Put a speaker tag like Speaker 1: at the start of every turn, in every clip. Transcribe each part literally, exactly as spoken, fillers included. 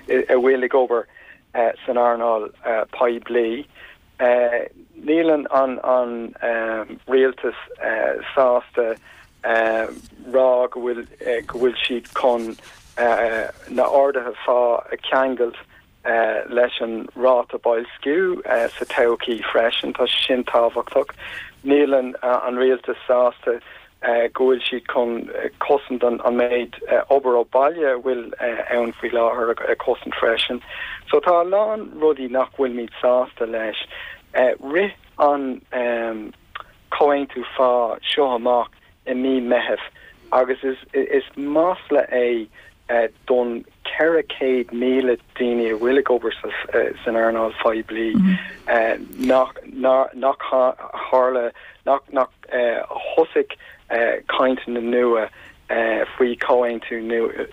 Speaker 1: a bhfuil ag obair san earnáil poiblí. Níl an an rialtas sásta rá go bhfuil go bhfuil siad chun na arduithe phá a cheangailt leis an ráta boilsciú sa todhchaí freisin, tá sé sin tábhachtach. Níl an an rialtas sásta go bhfuil siad chun cosaint an an méid obair ó bhaile a bhfuil ann faoi láthair a chosaint freisin. So tá a lán rudaí nach bhfuilimid sásta leis. Rith an comhaontú phá seo amach i mí Meitheamh agus is is masla é don ceithre chéad míle daoine a bhfuil ag obair san earnáil phoiblí nach nach tharla nach nach thosaigh cainteanna nua faoi chomhaontú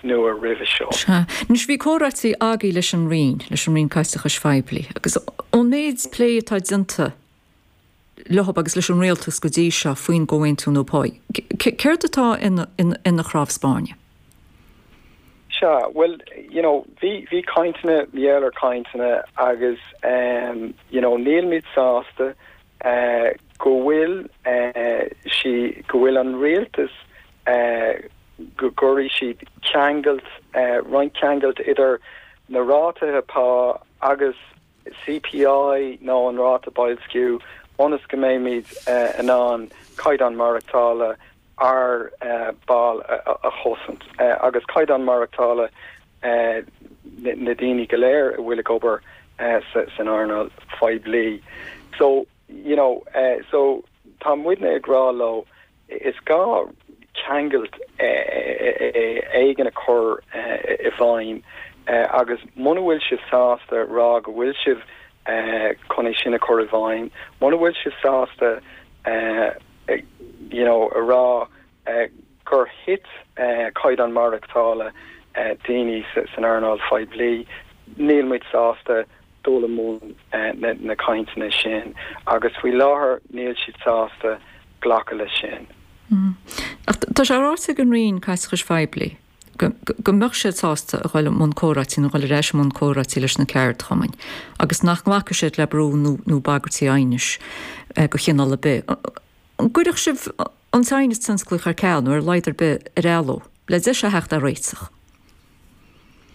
Speaker 1: nua roimhe seo.
Speaker 2: Sea. Anois bhí comhráití agaibh leis an Roinn, leis an Roinn Caiteachais Phoiblí, agus ón méid plé atá déanta leo agus leis an rialtas go dtí seo faoin gcomhaontú nua pá, céard atá ina ina chnámh spairne?
Speaker 1: Sea, bhuel, you know, bhí bhí cainteanna, bhí ar cainteanna agus um, you know, nílimid sásta uh, go bhfuil uh, sí go bhfuil an rialtas uh, go gcuirfidh siad ceangailt uh, roinnt ceangailt idir na rátaithe pá agus CPI nó an ráta boilsciú ionas go mbeimid uh, in ann caighdeán maireachtála ár uh, ball a, a, a chosaint uh, agus caighdeán maireachtála uh, na, na daoine go léir a bhfuil ag obair uh, sa, san earnáil phoiblí. So you know, uh, so tá muidne ag rá leo is gá ceangailt éigin a chur i bhfeidhm agus muna bhfuil sibh sásta rá go bhfuil sibh chun é sin a chur i bhfeidhm, muna bhfuil sibh sásta you know, a rá gur thit caighdeán maireachtála daoine san earnáil phoiblí, níl muid sásta dul i mbun na cainteanna sin agus faoi láthair níl siad sásta glacadh leis sin.
Speaker 2: Ach tá sé ráite ag an Roinn Caiteachais Phoiblí go go mbeadh siad sásta a dhul i mbun comhráití nó dhul ar ais i mbun comhráití leis na ceardchumainn agus nach nglacfaidh siad le brú nó nó bagairtí aighnis de chineál ar bith. An gcuirfeadh sibh an t-aighneas tionsclaíoch ar ceal nó ar a laghad ar bith ar athló le deis a theacht ar réiteach?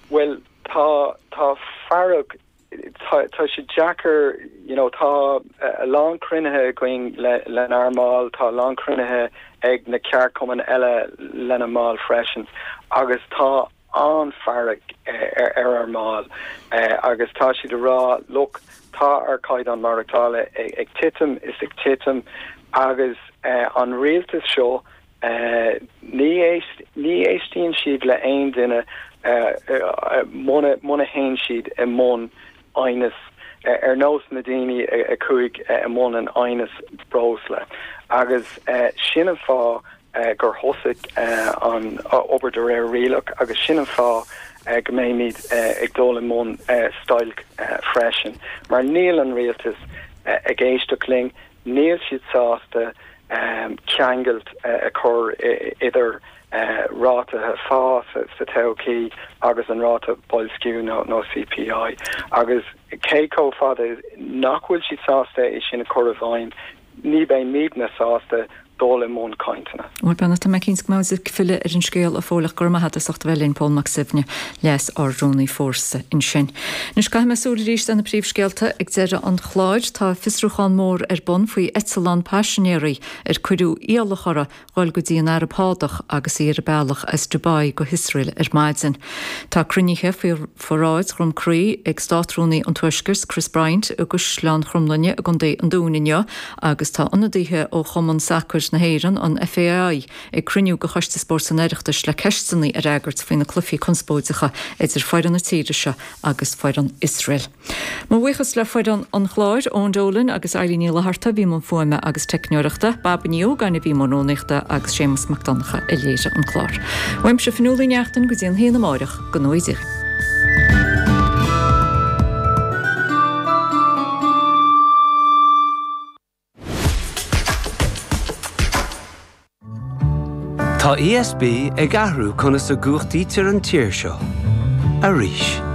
Speaker 1: Well tá tá fearg tá tá sé deacair you know tá a lán cruinnithe againn le lenár mbaill tá a lán cruinnithe ag na ceardchumainn eile lena mbaill freisin agus tá an-fhearg ar ar ár mbaill agus tá siad ag rá look tá ár gcaighdeán maireachtála ag, ag titim is ag titim agus an rialtas seo ní ní éistíonn siad le aon duine muna muna théann siad i mbun aighneas ar nós na daoine a chuaigh i mbun an aighneas breosla agus sin an fáth gur thosaigh an obair de réir rialach agus sin an fáth go mbeimid ag dul i mbun stailc freisin mar níl an rialtas ag éisteacht linn níl siad sásta ceangailt a chur idir rátaithe phá sa todhchaí agus an ráta boilsciú nó nó CPI agus cé chomh fada nach bhfuil siad sásta é sin a chur i bhfeidhm ní bheimidne sásta dul i mbun cainteanna.
Speaker 2: Bhuel beannacht Dé cinnte go mbeidh ag filleadh ar an scéal a Phóil ach go raibh maith agat as ucht a bheith linn Pól Mac Suibhne Leas Ard-Rúnaí Fórsa ansin. Anois caithfidh mé súil arís ar na príomhscéalta ag deireadh an chláir. Tá fiosrúchán mór ar bun faoi eitleán paisinéirí ar cuireadh iallach orthu dhul go dtí an Araib Shádach agus í ar a bealach as Dubai go hIosrael ar maidin. Tá cruinnithe faoi pharáid Dhroim Crí ag Státrúnaí an Tuaiscirt Chris Bryant i gCaisleán Chromghlinne i gContae an Dúin inniu agus tá ionadaithe ó Chumann Sacair na hÉireann, an FAI, ag cruinniú de Choiste Spóirt an Oireachtais le ceisteanna a fhreagairt faoi na cluichí conspóideacha idir foireann na tíre seo agus foireann Iosrael. Mo bhuíochas le foireann an chláir, Eoin Dolan agus Eileen Ní Fhlatharta a bhí i mbun fuaime agus teicneoireachta, Baba Ní Ógáin a bhí i mbun rúnaíochta agus Séamus Mac Donncha a léirigh an clár. Uaimse Fionnuala Ní Neachtain go dtí an haon amáireach, go ngnóthaí Dia dhaoibh.
Speaker 3: Tá ESB ag athrú conas a gcumhachtaítear an tír seo. Arís.